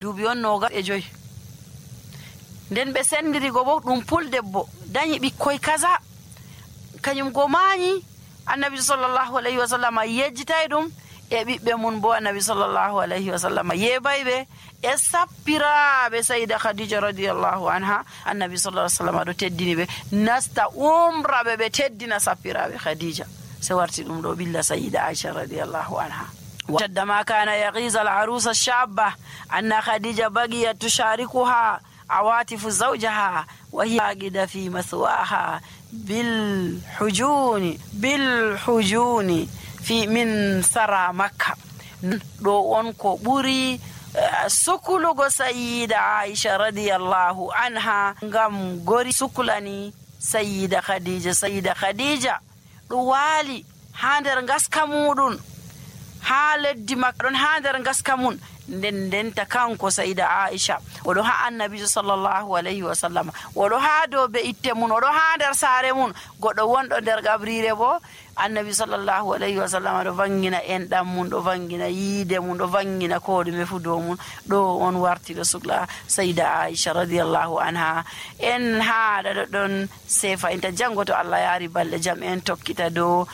duuɓi on 25 nden ɓe sendiri go bo ɗum puldebbo dañi ɓikkoy kaza kañum go maañi. Annabi sallallahu alayhi wa sallam yejjitay ɗum e ɓiɓɓe mun bo annabi sallallahu alayhi wa sallam yebayɓe e sappiraaɓe sayida khadija radiyallahu anha. Annabi sallallahu alayhi wa sallam ɗo teddini ɓe nasta umra ɓe teddina sappiraaɓe khadija se warti ɗum ɗo ɓilla sayida aisha radiyallahu anha. وشد ما كان يغيظ العروس الشابة أن خديجة بقيت تشاركها عواطف زوجها وهي راغدة في مثواها بالحجون في من سرى مكة. دو أنكو بوري سكولو سيدة عائشة رضي الله عنها غم غوري سكولاني سيدة خديجة دو والي هاندر غاسكا مودون ha leddi makka ɗon ha nder gaska mun ndenta kanko sayida aisha oɗo ha annabi sallallahu alayhi wa sallam oɗo ha dow be itte mun oɗo ha nder saare mun goɗɗo wonɗo nder gabrire bo annabi sallallahu alayhi wa sallam ɗo vangina enɗam mun ɗo vangina yiide mun ɗo vangina ko ɗume fu dow mun ɗo on warti ɗo sukla sayida aisha radiyallahu anha. En haɗa ɗo ɗon sefa inta jango to Allah yaari balɗe jam en tokkita dow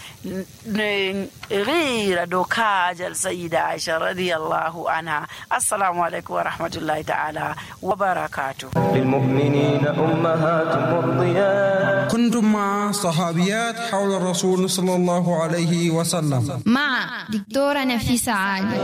ghira dow kaajal sayida aisha radiyallahu anha. Assalamu alaikum wa rahmatullahi ta'ala wa barakatuh. للمؤمنين أمهات مرضيات. كنتم مع صحابيات حول الرسول صلى الله عليه وسلم مع دكتورة نفيسة عالي.